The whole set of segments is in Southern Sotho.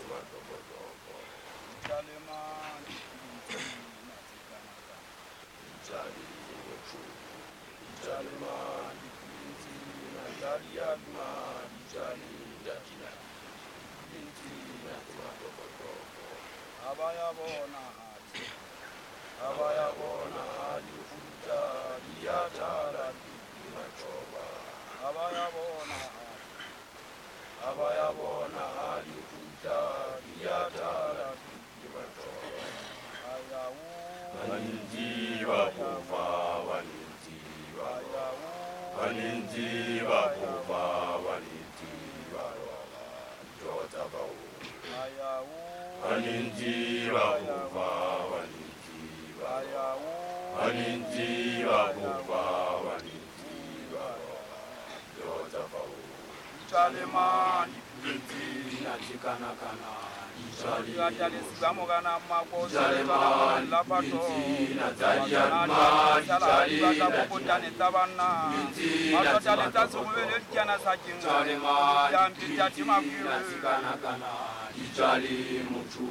matopotoko. Dijalema dipuleng tsena tse kanakana. Dijale motho, dijalema dipuleng tsena tsa diaduma, dijale datina dipuleng tsena tse matopotoko. Ha ba ya bona ha di, Ha ba ya bona ha di kgutla, di a thala di matjhoba. Ha ba ya bona ha di, Ha ba ya bona ha di kgutla, di a thala di matjhoba. Ha ya o, Banintsi ba fofa, banintsi ba ha ya roba. o, Banintsi ba fofa, banintsi ba roba. Dijo tsa bao. Ha ya o, Banintsi ba fofa, banintsi ba ha ya roba. o, Banintsi ba fofa, banintsi ba roba. Dijo tsa bao. Dijalema dipuleng Tsena tse kanakana, dijale Diatale motho. morana mako Dijalema la pato dipuleng tsena tsa diaduma, dijale tsa bokotane tsa banna Dipuleng tsena tse ba tsa serobele matopotoko. dikana sa keng Dijalema diampe tsa dipuleng timakwiri tsena tse kanakana, dijale motho.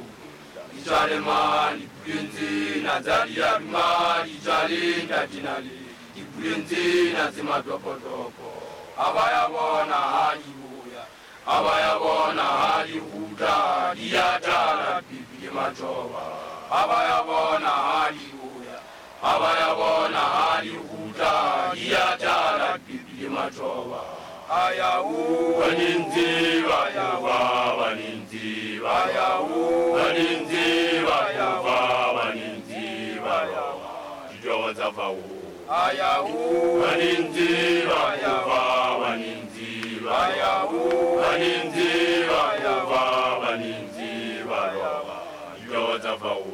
Dijalema dipuleng tsena tsa diaduma, dijale ntatinale dipuleng tsena tse matopotoko. Ha ba ya bona ha di boya, ha ba ya bona ha di kgutla, di a tala pipi le matjhoba. Ha ba ya bona ha di boya, ha ba ya bona ha di kgutla, di a tala pipi le matjhoba. Ha ya o, Banintsi ba fofa, banintsi ba roba. Banintsi ba fofa, banintsi ba roba. Ditoro tsa fao. Ha ya o, Banintsi ba fofa, banintsi ba roba. Banintsi ba fofa, banintsi ba roba. Ditoro tsa fao.